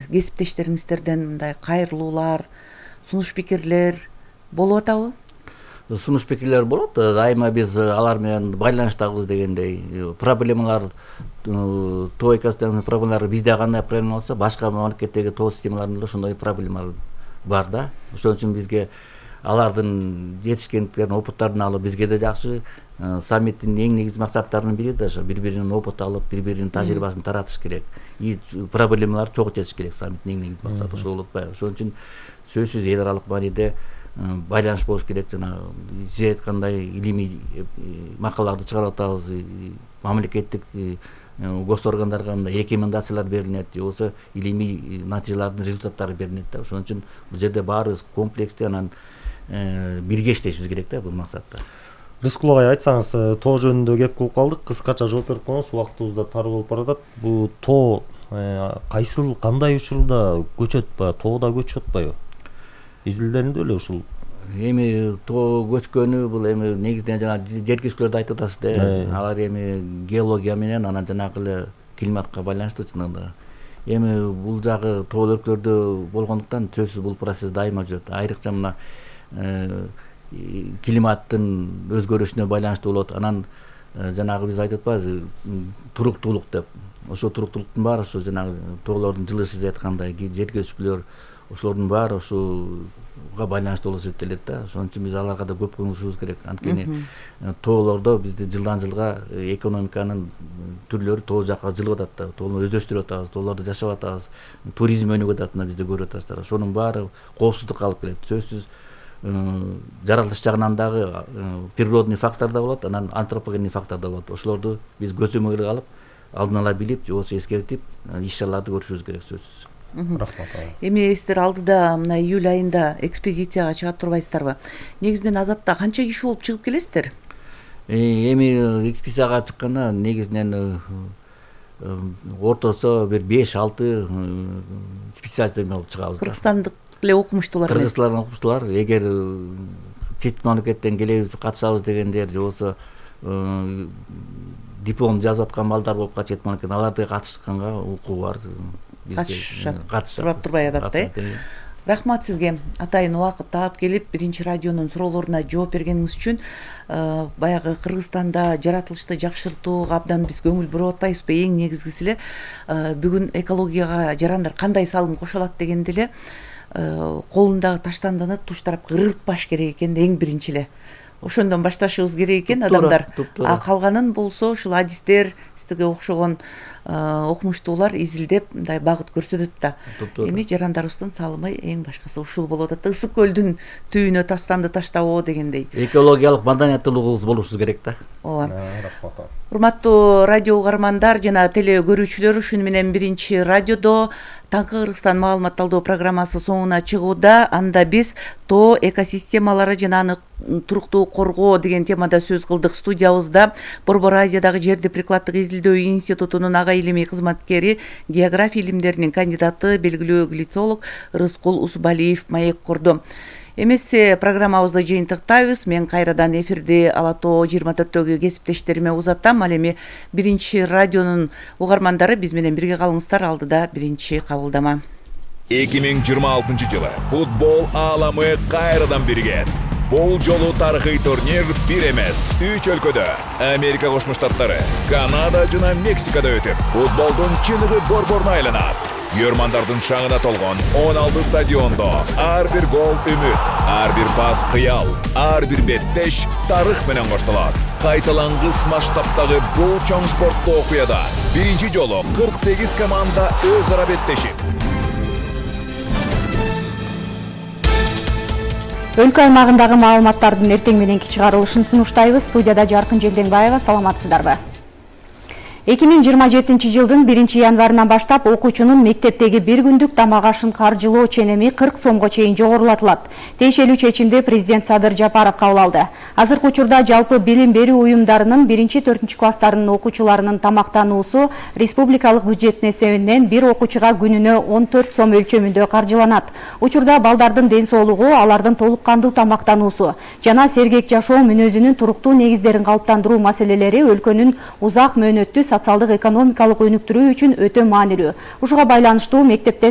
кесиптештериңиздерден мындай кайрылуулар, сунуш пикирлер болуп атабы? Сунуш пикирлер болот. Дайыма биз алар менен байланыштабыз дегендей. Проблемалар тоо экосистеманын проблемалары бизде кандай проблема болсо, башка мамлекеттеги тоо системаларында ошондой проблемалар бар да. Ошон үчүн бизге алардын жетишкендиктерин, опыттарын алып, бизге да жакшы. Саммиттин эң негизги максаттарынын бири да ошо бири-биринин опыт алып, бири-биринин тажрыйбасын таратыш керек. И проблемаларды чогултуш керек. Саммиттин эң негизги максаты ошол болуп атпайбы? Ошон үчүн сөзсүз эл аралык мааниде байланыш болуш керек. Жана сиз айткандай илимий макалаларды чыгарып атабыз. Мамлекеттик госоргандарга мындай рекомендациялар берилет, же болбосо илимий натыйжалардын результаттары берилет да. Ошон үчүн бул жерде баарыбыз комплекстүү анан бирге иштешибиз керек да бул максатта. Рыскул агай, айтсаңыз, тоо жөнүндө кеп кылып калдык. Кыскача жооп берип коңуз, убактыбыз да тар болуп баратат. Бул тоо кайсыл, кандай учурда көчөт ба, тоодо көчүп атпайбы? Изилдеринде эле ушул. Эми тоо көчкөнү бул эми негизинен жана жер көчкүлөрдү айтып атасыз да. Алар эми геология менен анан жанагы эле климатка байланыштуу чынында. Эми бул жагы тоо өлкөлөрдө болгондуктан сөзсүз бул процесс дайыма жүрөт. Айрыкча мына климаттын өзгөрүшүнө байланыштуу болот. Анан жанагы биз айтып атпайбызбы, туруктуулук деп. Ошо туруктуулуктун баары ошо жанагы тоолордун жылышы сиз айткандай жер көчкүлөр, ошолордун баары ушуга байланыштуу болуп эсептелет да. Ошон үчүн биз аларга да көп көңүл бурушубуз керек. Анткени тоолордо бизди жылдан жылга экономиканын түрлөрү тоо жакка жылып атат да. Тоону өздөштүрүп атабыз, тоолордо жашап атабыз, туризм өнүгүп атат, мына бизде көрүп атасыздар. Ошонун баары коопсуздукка алып келет. Сөзсүз жаратылыш жагынан дагы природный фактор да болот, анан антропогенный фактор да болот. Ошолорду биз көзөмөлгө алып, алдын ала билип, же болбосо эскертип, иш-чараларды көрүшүбүз керек сөзсүз. Рахмат. Эми сиздер алдыда мына июль айында экспедицияга чыгат турбайсыздарбы? Негизинен азатта канча киши болуп чыгып келесиздер? Эми экспедицияга чыкканда негизинен ортосо бир 5-6 специалисттер болуп чыгабыз. Кыргызстандык эле окумуштуулар эмес? Кыргызстандык окумуштуулар. Эгер чет мамлекеттен келебиз, катышабыз дегендер, же болбосо диплом жазып аткан балдар болуп калат чет мамлекеттен, аларды катышканга укугу бар. Катышат турбай атат да. Рахмат сизге. Атайын убакыт таап келип, биринчи радионун суроолоруна жооп бергениңиз үчүн. Баягы Кыргызстанда жаратылышты жакшыртууга абдан биз көңүл буруп атпайбызбы? Эң негизгиси эле бүгүн экологияга жарандар кандай салым кошо алат дегенде эле колундагы таштандыны туш тарапка ыргытпаш керек экен, эң биринчи эле. Ошондон башташыбыз керек экен адамдар. Калганын болсо ушул адистер, сизге окшогон окумуштуулар изилдеп мындай багыт көрсөтөт да. Эми жарандарыбыздын салымы эң башкысы ушул болуп атат. Ысык көлдүн түбүнө тастанды таштабоо дегендей. Экологиялык маданияттуулугубуз болушубуз керек да. Ооба. Урматтуу радио угармандар жана теле көрүүчүлөр, ушуну менен биринчи радиодо Таңкы Кыргызстан маалымат талдоо программасы соңуна чыгууда. Анда биз тоо экосистемалары жана аны туруктуу коргоо деген темада сөз кылдык. Студиябызда Борбор Азиядагы жерди прикладдык изилдөө институтунун ага илимий кызматкери, география илимдеринин кандидаты, белгилүү глицолог Рыскул Усубалиев маек курду. Эмесе программабызды жыйынтыктайбыз. Мен кайрадан эфирди Ала Тоо 24-төгү кесиптештериме узаттам. Ал эми биринчи радионун угармандары биз менен бирге калыңыздар. Алдыда биринчи кабылдама. 2026-жылы футбол ааламы кайрадан биригет. Бул жолу тарыхый турнир бир эмес, 3 өлкөдө, Америка Кошмо Штаттары, Канада жана Мексикада өтүп, футболдун чыныгы борборуна айланат. Йөрмандардын шаңына толгон 16 стадиондо ар бир гол үмүт, ар бир пас кыял, ар бир беттеш тарых менен коштолот. Кайталангыс масштабтагы бул чоң спорттуу окуяда биринчи жолу 48 команда өз ара беттешип. Өлкө аймагындагы маалыматтардын эртең мененки чыгарылышын сунуштайбыз. Студияда Жаркын Жеңдеңбаева, саламатсыздарбы? 2027 жылдын 1-январынан баштап окуучунун мектептеги бир күндүк тамак ашын каржылоо ченеми 40 сомго чейин жогорулатылат. Тиешелүү чечимди президент Садыр Жапаров кабыл алды. Азыркы учурда жалпы билим берүү уюмдарынын 1-4 класстарынын окуучуларынын тамактануусу республикалык бюджеттин эсебинен бир окуучуга күнүнө 14 сом өлчөмүндө каржыланат. Учурда балдардын ден соолугу, алардын толук кандуу тамактануусу жана сергек жашоо мүнөзүнүн туруктуу негиздерин калыптандыруу маселелери өлкөнүн узак мөөнөттүү социалдык экономикалык өнүктүрүү үчүн өтө маанилүү. Ушуга байланыштуу мектепте